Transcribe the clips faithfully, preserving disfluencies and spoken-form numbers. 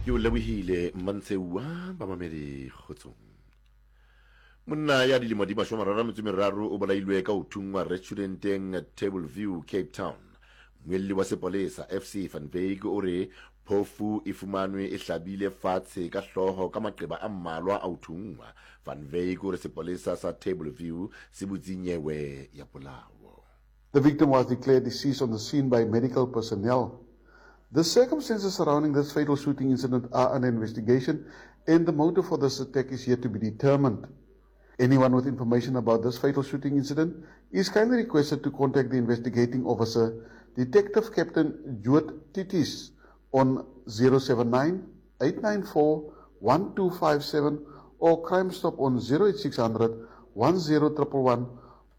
Ke o lebohile Mmantsheua bamamedi kgotsong. Monna ya dilemo di mashome a mararo a metso e meraro o bolailwe ka ho thunngwa restauranteng Table View Cape Town. Mmuelli wa sepolesa F C Van Wyk o re phofu e fumanwe e hlabile fatshe ka hlooho ka maqeba a mmalwa a ho thunngwa. Van Wyk o re sepolesa sa Table View se butse nyewe ya polao. The victim was declared deceased on the scene by medical personnel. The circumstances surrounding this fatal shooting incident are under investigation and the motive for this attack is yet to be determined. Anyone with information about this fatal shooting incident is kindly requested to contact the investigating officer, Detective Captain Juet Titis, on zero seven nine, eight nine four, one two five seven or Crime Stop on zero eight six hundred, one zero triple one,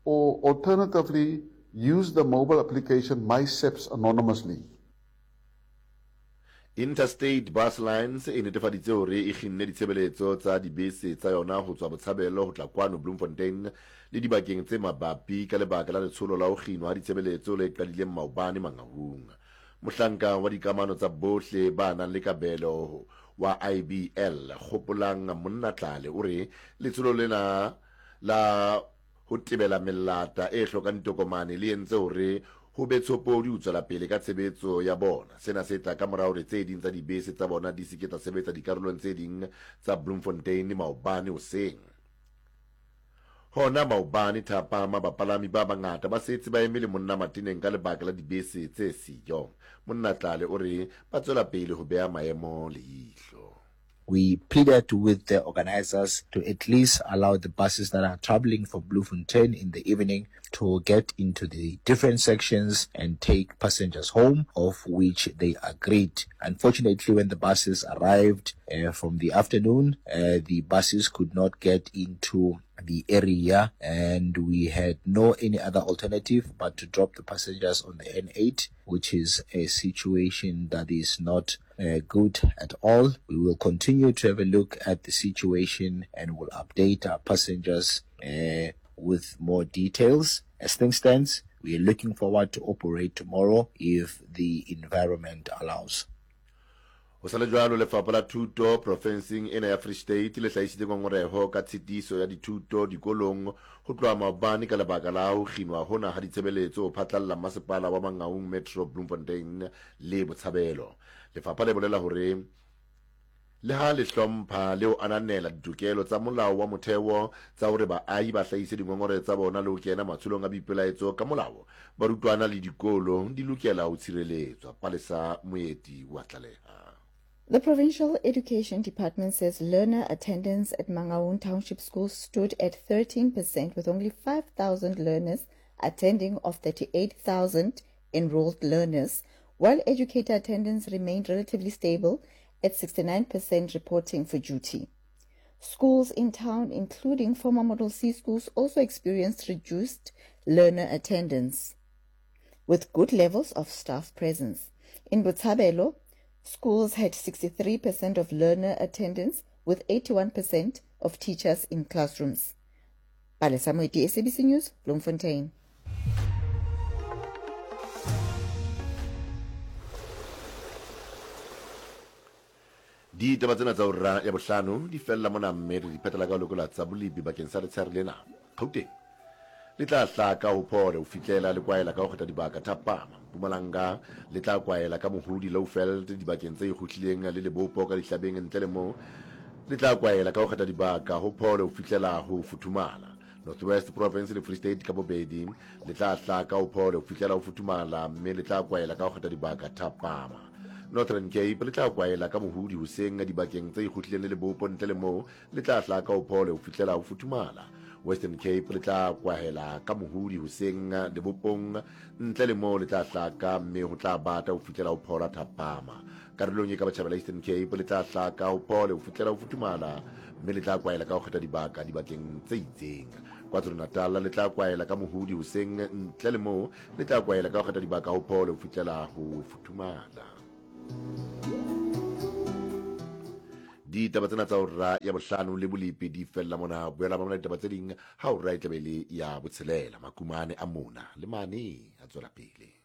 or alternatively use the mobile application MySAPS anonymously. Interstate Bus Lines e netefaditse hore e kginne ditshebeletso tsa dibese tsa yona ho tswa Botshabelo ho tla kwano Bloemfontein le dibakeng tse mabapi ka lebaka la letsholo la ho kginwa ha ditshebeletso le qadileng maobane Mangaung. Mohlanka wa dikamano tsa bohle ba nang le kabelo wa I B L Kgopolang Monnatlale o re letsholo lena la ho tebela melata e hlokang ditokomane le entse hore ho be tshopodi ho tswela pele ka tshebetso ya bona. Sena se tla ka mora hore tse ding tsa dibese tsa bona di se ke tsa sebetsa dikarolong tse ding tsa Bloemfontein maobane hoseng. Hona maobane thapama bapalami ba bangata ba setse ba eme le monna mateneng ka lebaka la dibese tse siyo. Monnatlale o re ba tswela pele ho beha maemo leihlo. We pleaded with the organizers to at least allow the buses that are traveling from Bloemfontein in the evening to get into the different sections and take passengers home, of which they agreed. Unfortunately, when the buses arrived, uh, from the afternoon, uh, the buses could not get into the area, and we had no any other alternative but to drop the passengers on the N eight, which is a situation that is not, uh, good at all. We will continue to have a look at the situation and will update our passengers, uh, with more details. As things stand, we are looking forward to operate tomorrow if the environment allows. Ho sa le jwalo, Lefapha la Thuto profenseng ena ya Free State le hlahisitse ngongoreho ka tshitiso ya dithuto dikolong ho tloha maobane ka lebaka la ho kginwa hona ha ditshebeletso ho phatlalla masepala wa Mangaung Metro Bloemfontein le Botshabelo. Lefapha le bolela hore le ha le hlompha le ho ananela ditokelo tsa molao wa motheo tsa hore baahi ba hlahise dingongore tsa bona le ho kena matsholong a boipelaetso ka molao, barutwana le dikolo di lokela ho tshireletswa. Palesa Moeti wa tlaleha. The Provincial Education Department says learner attendance at Mangaung Township School stood at thirteen percent, with only five thousand learners attending of thirty-eight thousand enrolled learners, while educator attendance remained relatively stable at sixty-nine percent reporting for duty. Schools in town, including former Model C schools, also experienced reduced learner attendance, with good levels of staff presence. In Botshabelo, schools had sixty-three percent of learner attendance, with eighty-one percent of teachers in classrooms. Palesa Moeti, S A B C News, Bloemfontein. Ditaba tsena tsa hora ya bohlano di fella mona, mme re di phetela ka ho lekola tsa bolipi bakeng sa letshehare lena. Gauteng le tla hlaka ho phole ho fihlela le kwaela ka ho kgetha dibaka thapama. Mpumalanga le tla kwaela ka mohodi Lowveld dibakeng tse ikgohlileng le lebopo ka dihlabeng, ntle le moo le tla kwaela ka ho kgetha dibaka ho phole ho fihlela ho futhumala. North West Province le Free State ka bobedi le tla hlaka ho phole ho fihlela ho futhumala, mme le tla kwaela ka ho kgetha dibaka thapama. Northern Cape le tla kwaela ka mohodi hoseng dibakeng tse ikgohlileng le lebopo, ntle le moo le tla hlaka ho phole ho fihlela ho futhumala. Western Cape le tla kwahela ka mohodi hoseng lebopong, ntle le moo le tla hlaka mme ho tla bata ho fihlela ho phola thapama. Karolong e ka botjhabela Eastern Cape le tla hlaka ho phole ho fihlela ho futhumala, mme le tla kwaela ka ho kgetha dibaka dibakeng tse itseng. KwaZulu-Natal le tla kwaela ka mohodi hoseng, ntle le moo le tla kwaela ka ho kgetha dibaka ho phole ho fihlela ho futhumala. Ditaba tsena tsa hora ya bohlano le bolipi di fella mona. Boela ba mona ditaba tse ding ha hora e tla be le ya botshelela. Makumane a mona le mane a tswela pele.